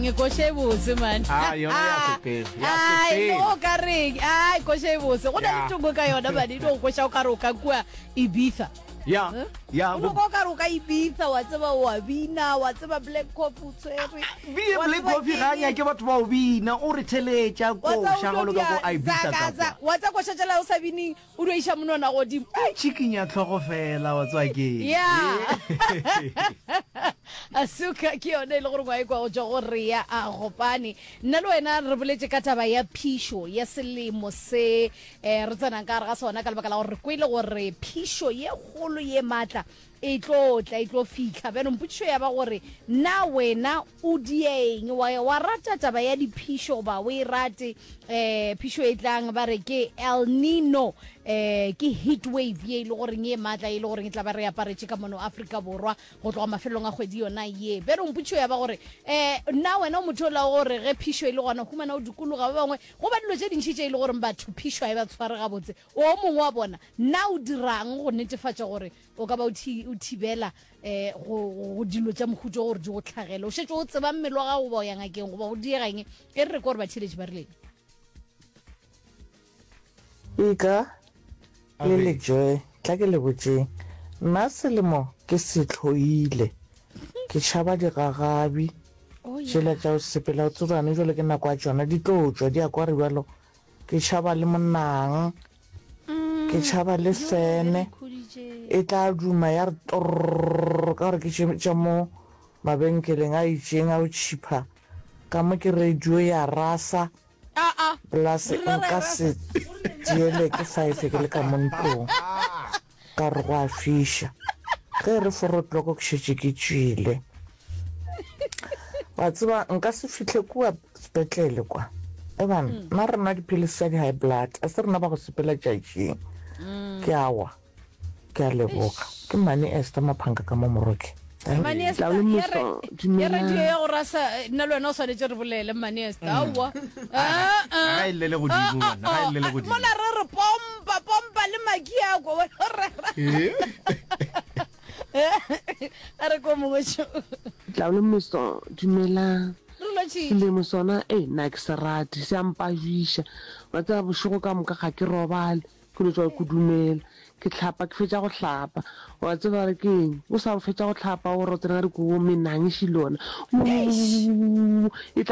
reng koša e bose man Ah, yona ya sepela, ya Ai, sepela. o ka reng ai koša e bose go na le Ya. tongo ka yona mane e no go koša o ka re o ka kua Ibiza Ya, Eh? ya, o no bo- kwa o ka re o ka Ibiza wa tseba o a bina wa tseba black coffee o tshwere Bile wa Black tseba Coffee ga a keng. nyake batho ba o bina, o re theletša Wa tseba koša o ga o no le ka ko dia Ibiza ka zaka za kwa. wa tseba koša tšela o sa bineng O dio iša monwana godimo. O tšhikinya hlogo fela, wa tseba ke. Ya. Asuka ke yone e le gore ngwa e kwa go tšwa go Rea a Gopane. Nna le wena re boletše ka taba ya phišo ya selemo se eh, re tsenang ka gare ga sona ka lebaka la gore re kwele gore phišo ye kgolo ye matla E tlo tla, e tlo fihla. Bjalo mpotšišo ya ba gore, Na wena o dieng? Wa, wa rata taba ya diphišo goba o e rate? Eh, phišo e tlang ba re ke El Nino, eh, ke heat wave ye e le goreng ye maatla, ye e le goreng e tla ba re aparetše ka mono Afrika Borwa go tloga mafelelong a kgwedi yona ye. Bjalo mpotšišo ya ba gore, eh, na wena o motho ola wa gore ge phišo e le gona o humana o dikologa ba bangwe, go ba dilo tše dintši tše e le goreng batho phišo ga e ba tshware gabotse, o mongwe wa bona, na o dirang go netefatša gore O ka ba o thi, o thibela eh, go, go dilo tša mohuta gore di go tlhagele. O šetše o tseba mmele wa gago goba o ya ngakeng goba go diega eng. E re re ko gore batheeletši ba rileng. Ika le lejoe, tla ke le botšeng, nna selemo ke se hloile, ke tšhaba digagabi tšela tša go sepela, o tsebe gane jwale ke nako ya tšona, di tlo tšwa di a kwa re bjalo, ke tšhaba le monang. Ke tšhaba le fene e tla duma ya re torr ka gore ke tše tša mo mabenkeleng a itšeng a go tšhipha ka mo ke radio ya rasa plus nka se diele ke five ke le ka mo ntlong ka gore go a fiša ge e re four o'clock ke šetše ke tšwile wa tseba nka se fihle kua Sepetlele kwa. Eban, mm. nna re nwa dipilisi tša di-high blood, a se rena ba go sepela tšatšing. Mm. Ke awa. Ke a leboga. Ke Mane Esther Maphanka ka mo Moroke. Mane Esther, ya re, ya radio ya go rasa, eh, nna le wena o swanetše re bolele Mane Esther. Mm. Aowa. Ah, ah. Ga e llele godimo, ah, ga e llele godimo. Mola re re pompa, pompa le maki a kwa. Eh? A re ko mongwe šo. Tlaole Moso, Dumelang. Re lotšhitše. Selemo sona, ei, nna ke se rate, se a mpajuiša. Wa tseba bošego ka moka ga ke robale, ke no tšwa ke kudumela. Ke hlapa, ke fetša go hlapa. Wa tseba re ke eng? O sa fetša go hlapa, o re o tsena ka dikobo, menang e šilona. Eish! Wuuwuwuwuwu, e tla.